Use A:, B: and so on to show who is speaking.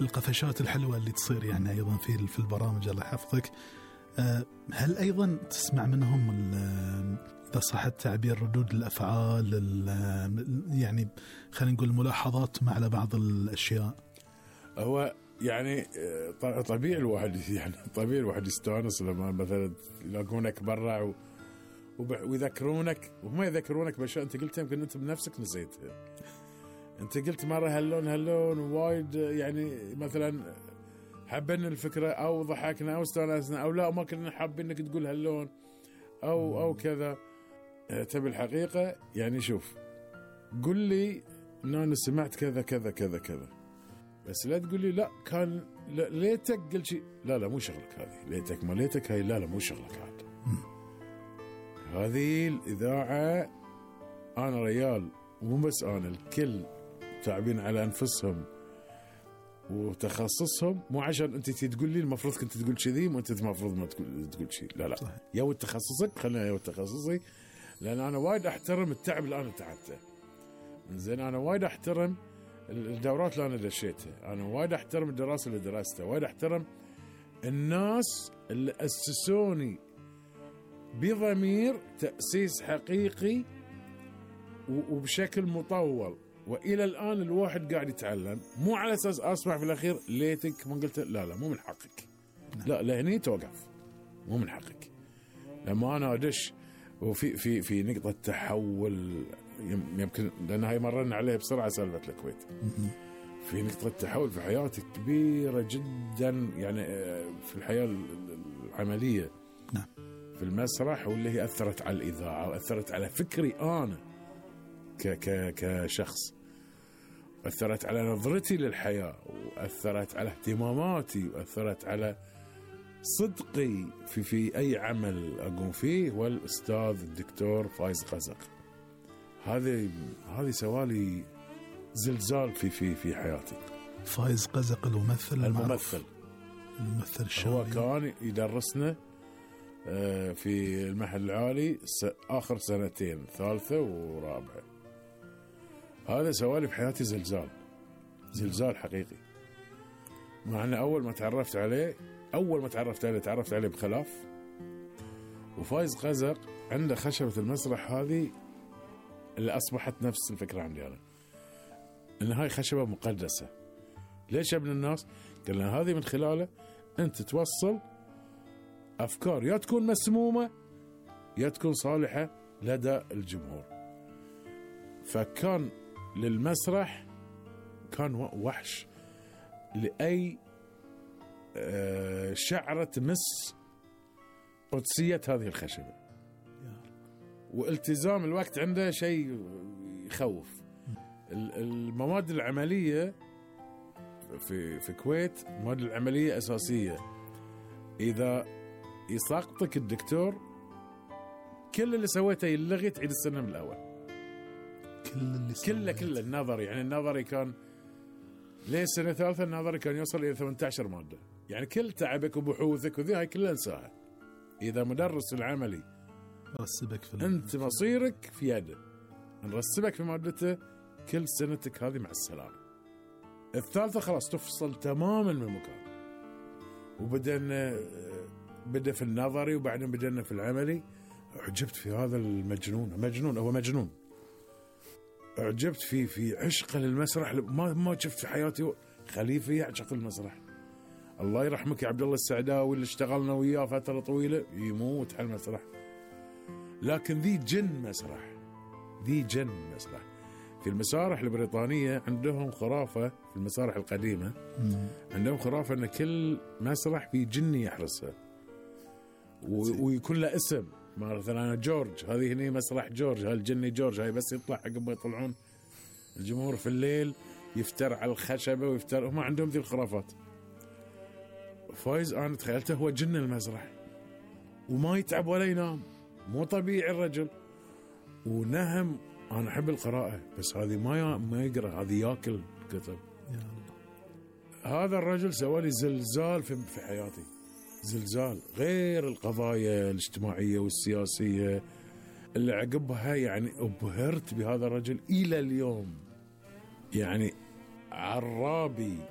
A: القفشات الحلوة اللي تصير يعني أيضا في البرامج، الله يحفظك. هل أيضا تسمع منهم إذا صح التعبير ردود الأفعال، يعني خلينا نقول ملاحظات على بعض الأشياء؟
B: هو يعني طبيعي الواحد يستانس لما مثلا يلاقونك برا ويذكرونك، وهم يذكرونك بأشياء أنت قلتها يمكن أنت بنفسك نسيتها. أنت قلت مرة هاللون وايد، يعني مثلا حبنا الفكرة أو ضحكنا أو استانسنا أو لا ما كنا حابين إنك تقول هاللون أو كذا. تبي الحقيقة يعني شوف، قل لي إن أنا سمعت كذا كذا كذا كذا، بس لا تقول لي لا كان ليتك قل شيء، لا مو شغلك هذه، ليتك ما ليتك هاي لا مو شغلك هذا. هذه الإذاعة أنا ريال، مو بس أنا، الكل تعبين على أنفسهم وتخصصهم، مو عشان أنت تقول لي المفروض كنت تقول كذي وأنت المفروض ما تقول شيء، لا صحيح. يا تخصصك، خلينا يا تخصصي، لأن أنا وايد أحترم التعب اللي أنا تعبته. زين أنا وايد أحترم الدورات اللي أنا دشيتها، أنا وايد أحترم الدراسة اللي درستها، وايد أحترم الناس اللي أسسوني بضمير تأسيس حقيقي وبشكل مطول، وإلى الآن الواحد قاعد يتعلم، مو على أساس أسمع في الأخير ليتك ما قلت، لا مو من حقك، لا لهني توقف، مو من حقك. لما أنا أدش وفي في في نقطة تحول، يمكن لأن هاي مررنا عليها بسرعة سالفة الكويت، في نقطة تحول في حياتي كبيرة جدا، يعني في الحياة العملية في المسرح، واللي هي أثرت على الإذاعة وأثرت على فكري أنا كشخص، أثرت على نظرتي للحياة، وأثرت على اهتماماتي، وأثرت على صدقي في أي عمل أقوم فيه. والأستاذ الدكتور فايز قزق هذه سوالي زلزال في حياتي.
A: فايز قزق الممثل
B: الشامي، هو كان يدرسنا في المحل العالي آخر سنتين، ثالثة ورابعة. هذا سوالي في حياتي زلزال حقيقي. مع أن أول ما تعرفت عليه تعرفت عليه بخلاف. وفايز قزق عنده خشبة المسرح هذه اللي أصبحت نفس الفكرة عندي أنا، إن هاي خشبة مقدسة. ليش يا ابن الناس؟ قلنا هذه من خلاله أنت توصل أفكار يا تكون مسمومة يا تكون صالحة لدى الجمهور. فكان للمسرح كان وحش لأي شعرة تمس قدسية هذه الخشبة، والتزام الوقت عنده شيء يخوف. المواد العملية في الكويت، المواد العملية أساسية. إذا يساقطك الدكتور كل اللي سويته يلغي، تعيد السنة من الأول. كله النظري، يعني النظري كان ليه سنة ثالثة النظري كان يوصل إلى 18 مادة، يعني كل تعبك وبحوثك وذي هاي كلها انساها. إذا مدرس العملي
A: رسبك
B: أنت مصيرك في يده، نرسبك في مادته، كل سنتك هذه مع السلامة. الثالثة خلاص تفصل تماما من المكان. بدأ في النظري وبعدين بدأنا في العملي. عجبت في هذا المجنون، هو مجنون. عجبت في عشقه للمسرح، ما شفت في حياتي خليفة يعشق المسرح. الله يرحمك يا عبد الله السعداوي اللي اشتغلنا وياه فترة طويلة، يموت على المسرح. لكن ذي جن مسرح. في المسارح البريطانية عندهم خرافة، في المسارح القديمة عندهم خرافة أن كل مسرح في جن يحرسها ويكون له اسم. مثلا جورج، هذه هنا مسرح جورج، هالجني جورج، هاي بس يطلع عقب ما يطلعون الجمهور في الليل يفتر على الخشبة ويفتر. هم عندهم ذي الخرافات. فايز أنا تخيلته هو جن المسرح، وما يتعب ولا ينام، مو طبيعي الرجل، ونهم. أنا أحب القراءة، بس هذه ما يقرأ، هذه يأكل كتب. هذا الرجل سوالي زلزال في حياتي، زلزال غير القضايا الاجتماعية والسياسية اللي عقبها. يعني أبهرت بهذا الرجل إلى اليوم. يعني عرابي